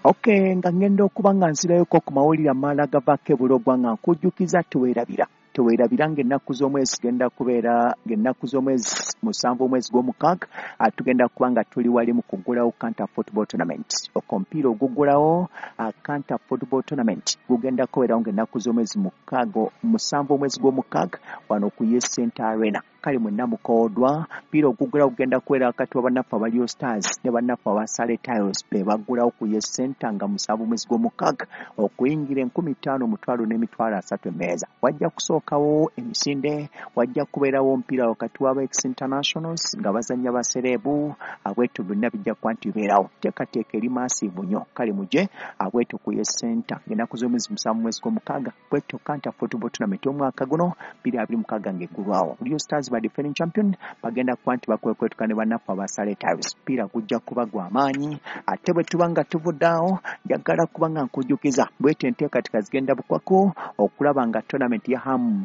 Okay, nga ngenda okuba nga nzirayoko ku mawulire amalala agavaako ebulogwa, nga nkujjukiza teweerabira, teweerabira ng'ennaku z'omwezi genda kubeera ng'ennaku z'omwezi 7 omwezi gw'omukaaga, tugenda kuba nga tuli wali mu kuggulawo Kanta Football Tournament. Omupiira oguggulawo Kanta Football Tournament gugenda kubeerawo ng'ennaku z'omwezi 6, 7 omwezi gw'omukaaga wano ku Yes Center Arena. Kale mwenna mukoodwa. Mpiira oguggulawo gugenda kubeera wakati wa bannaffe aba Leo Stars ne bannaffe aba Sale Tiles, be baggulawo ku Yes Center nga 7 omwezi gw'omukaaga. Okuyingira 5,000, 100,000 n'emitwalo 30 emmeeza. Wajja kusookawo emisinde, wajja kubeerawo omupiira wakati w'aba ex internationals nga bazannya basereebu abwetu, byonna bijja kuba nti bibeerawo. Teekateeka eri massive nnyo. Kale mujje abwetu ku Yes Center ng'ennaku z'omwezi 7 mwezi gw'omukaaga, bwetyo Kanta Football Tournament omwaka guno 2026 ng'eggulwawo. Leo Stars ba defending champion bagenda kuba nti bakwekwetuka ne bannaffe aba Sale Tiles. Mupiira gujja kuba gwa maanyi. Ate bwe tuba nga tuvudde awo, njagala kuba nga nkujjukiza bwetyo enteekateeka zigenda bukwako okulaba nga tournament ya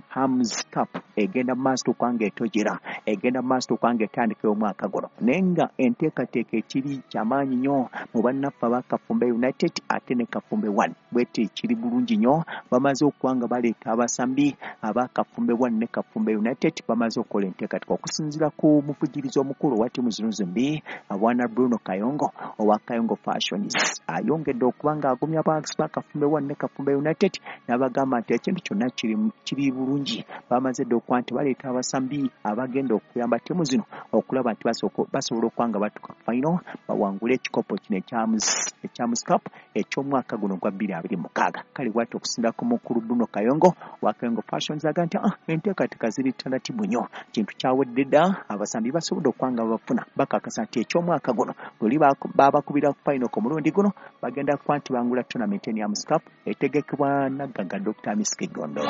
Hams Cup egenda mu maaso okuba nga etojera, egenda mu maaso okuba nga etandika omwaka guno, naye nga enteekateeka ekiri kyamaanyi nnyo mu bannaffe aba Kafumbe United ate ne Kafumbe One. Bwete kiri bulungi nnyo, bamaze okuba nga baleeta abasambi aba Kafumbe One ne Kafumbe United, bamaze okukola enteekateeka. Okusinziira ku muvugirizi omukulu owa ttiimu zino zombi, Bwana Bruno Kayongo owa Kayongo Fashions, ayongedde okuba ng'agumya abawagizi ba Kafumbe One ne Kafumbe United n'abagamba nti ekintu kyonna kiri bulungi. Bamaze dda okuba nti baleeta abasambi abagenda okuyamba ttiimu zino okulaba nti basobola okuba nga batuuka ku final, bawangule ekikopo kino ekya Hams Cup eky'omwaka guno gwa 2026. Kale bw'atyo okusinziira ku mukulu Bruno Kayongo wa Kayongo Fashions aga nti enteekateeka ziri taratibu nnyo, kintu kyawedde dda, abasambi basobodde okuba nga babafuna, bakakasa nti eky'omwaka guno luli babakubira ku final ku mulundi guno bagenda kuba nti bangula tournament eno ya Hams Cup etegekebwa naggaga Dr. Hamis Kiggundu.